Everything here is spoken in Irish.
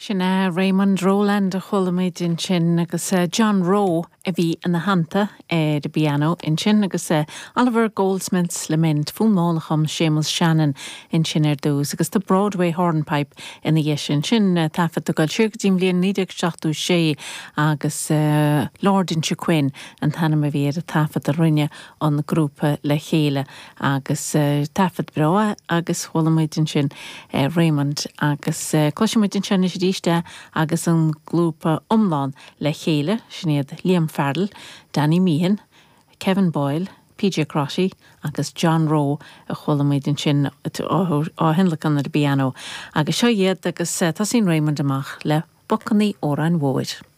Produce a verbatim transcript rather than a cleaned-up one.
Sin é Raymond Rowland a chuala muid ansin agus uh, John Rowe a bhí ina theannta ar an bpianó ansin agus uh, Oliver Goldsmith's Lament fonn mall a chum Séamus Shannon ansin ar dtús agus the Broadway Hornpipe ina dhiaidh sin sin uh, taifead go siar go dtí bliain naoi déag seachtó sé agus uh, Lord Inchiquin an t-ainm a bhí ar an taifead a rinne an grúpa le chéile agus uh, taifead breá agus chuala muid ansin uh, Raymond agus uh, cloisfimid ansin arís agus an grúpa iomlán le chéile sin iad Liam Farrell, Danny Meehan, Kevin Boyle, PJ Crotty agus John Rowe a chuala muid ansin á thionlacan ar an bpianó agus seo iad agus tosaíonn Raymond amach le Bacanna Óráin Mhóir.